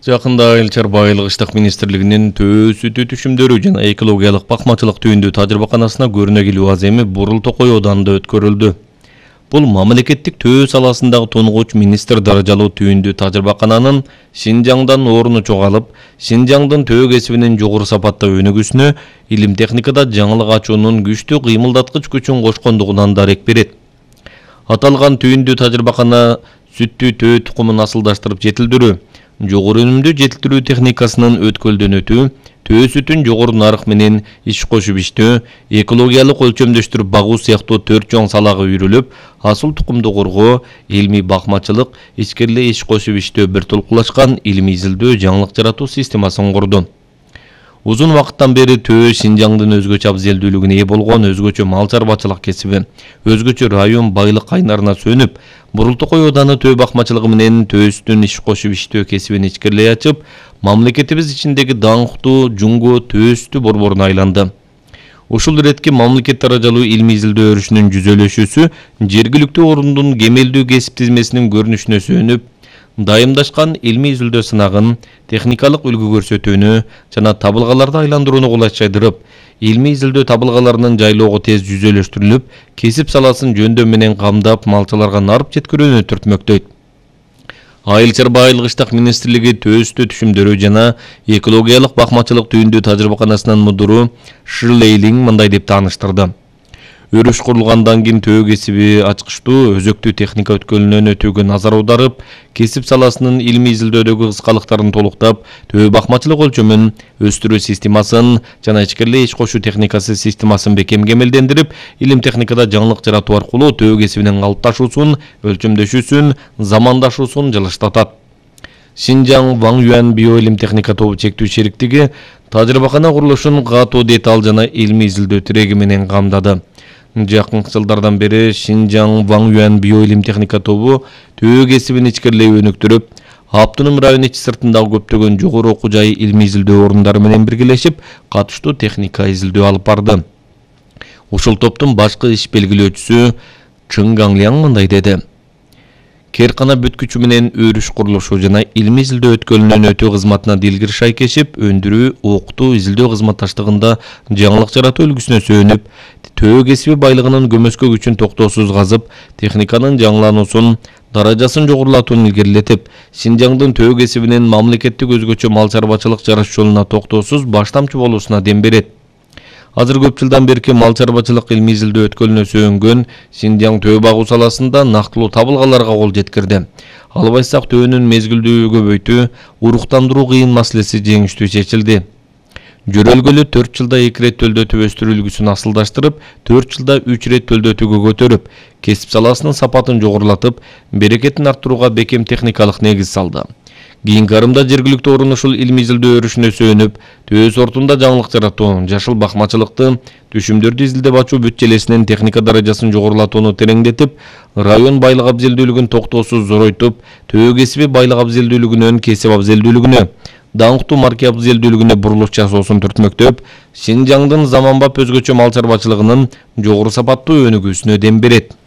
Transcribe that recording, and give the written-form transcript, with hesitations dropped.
Жакында Айыл чарба айылгычтык министрлигинин төө сүтү түшүмдөрү жана экологиялык бакмачылык түйүндүү тажрыйбаканасына көрүнөгүлүү аземи Бурул Токой Оданында өткөрүлдү. Бул мамлекеттик төө саласындагы тунугуч министр даражалуу түйүндүү тажрыйбакананын Шинжаңдан оруну чогалып, Шинжаңдын төө кесибинин жогору сапаттуу өнүгүүсүнө илим техникада жаңылык ачуунун күчтүү кыймылдаткыч күчүн кошкондугунан дарек берет. Аталган түйүндүү тажрыйбакана сүттүү төө тукумун асылдаштырып жетилдирүү, жогору өнүмдүү жетилдирүү техникасынын өткөлдөнөтүү, төө сүтүн жогору нарык менен иш кошуп иштөө, экологиялык өлчөмдөштүрүп багуу сыяктуу 4 чоң салага үйрүлүп, асыл тукумду коргоо, илмий бакмачылык, ичкериле иш кошуп иштөө бир толкулашкан илимий изилдөө жаңылык жаратуу системасын курду. Узун вакыттан бери төө Шинжаңдын өзгөчө абзелдүүлүгүнө ээ болгон өзгөчө мал чарбачылык кесиби, өзгөчө район байлык кайнарына сөнүп, Бурул Токой Ооданы төө бакмачылыгы менен төөстүн иш кошуп иштөө кесибин ичкерилей ачып, мамлекетибиз ичиндеги даңктуу жунго төөстү борборуна айланды. Ушул иретки мамлекет даражалуу илмий изилдөө өрүшүнүн жүзөлөшүүсү жергиликтүү орундун кемелдүү кесип тизмесинин көрүнүшүнө сөнүп, дайымдашкан илмий изилдөө сынагын, техникалык үлгү көрсөтүүнү жана табылгаларды айландырууну кулайчайдырып, илмий изилдөө табылгаларынын жайлоого тез жүзөлөштүрүлүп, кесип саласын жөндөм менен камдап, малчыларга нарып жеткирүүнү түртмөктөйт. Айыл чарба айылгычтык министрлиги төөстү түшүмдөрү жана экологиялык бакмачылык түйүндүү тажрыйбаканасынын мудуру Ширлейлинг мындай деп тааныштырды. Өрүш курулгандан кийин төө кесиби ачкычтуу, өзөктүү техника өткөлүнөн өтүүгө назар аударып, кесип саласынын илмий изилдөөдөгү кыскалыктарын толуктап, төө бакмачылык өлчөмүн, өстүрүү системасын жана ичкериле иш кошуу техникасы системасын бекем кемелдендирип, илим техникада жаңылык жаратуу аркылуу төө кесибинин калыпташуусун, өлчөмдөшүүсүн, замандашуусун жылыштатат. Шинжаң Ван Юан биоилим техника тобу чектүү шериктиги тажрыйбакана курулушун катуу деталь жана илмий изилдөө тиреги менен камдады. Жакынкы жылдардан бери Шинжаң Ван Юан биоилим техника тобу төө кесибин ичкерилей өнүктүрүп, автоном район ичи сыртындагы көптөгөн жогору окуу жай илмий изилдөө орундары менен биргелешип, катыштуу техника изилдөө алып барды. Ушул топтун башкы иш белгилөөчүсү Чын Гангляң мындай деди. Керкана бүткүчү менен өрүш курулушу жана илмий изилдөө өткөлүнөн өтүү кызматына дилгир шайкешип, өндүрүү, окутуу, изилдөө кызматташтыгында жаңылык жаратуу үлгүсүнө сөнүп, төө кесиби байлыгынын көмөскө күчүн токтоосуз казып, техниканын жаңылануусун, даражасын жогорулатууну илгерилетип, Шинжаңдын төө кесибинин мамлекеттик өзгөчө мал чарбачылык жарыш жолуна токтоосуз баштамчы болуусуна дем берет. Азыр көп жылдан берки мал чарбачылык илмий изилдөө өткөлүнө сөөнгөн Шинжаң төө багуу саласында нактылуу табылгаларга кол жеткирди. Албайсак төөнүн мезгилдүү көбөйтүү, уруктандыруу кыйын маселеси жеңиштүү чечилди. Жөрөлгөлү 4 жылда 2 рет төлдөтүп өстүрүү үлгүсүн асылдаштырып, 4 жылда 3 рет төлдөтүүгө көтөрүп, кесип саласынын сапатын жогорулатып, берекетин арттырууга бекем техникалык негиз салды. Кийинки арымда жергиликтүү орун ушул илмий изилдөө өрүшүнө сөнүп, төө сортунда жаңылык жаратуу, жашыл бакмачылыкты, түшүмдөрдү изилдеп ачуу бүт желесинин техника даражасын жогорулатууну тереңдетип, район байлык абзелдүүлүгүн токтоосуз зоройтуп, төө кесиби байлык абзелдүүлүгүнөн кесип абзелдүүлүгүнө, даңктуу марке абзелдүүлүгүнө бурулуш жасоосун түртмөктөп, Шинжаңдын заманбап өзгөчө мал чарбачылыгынын жогору сапаттуу өнүгүүсүнө дем берет.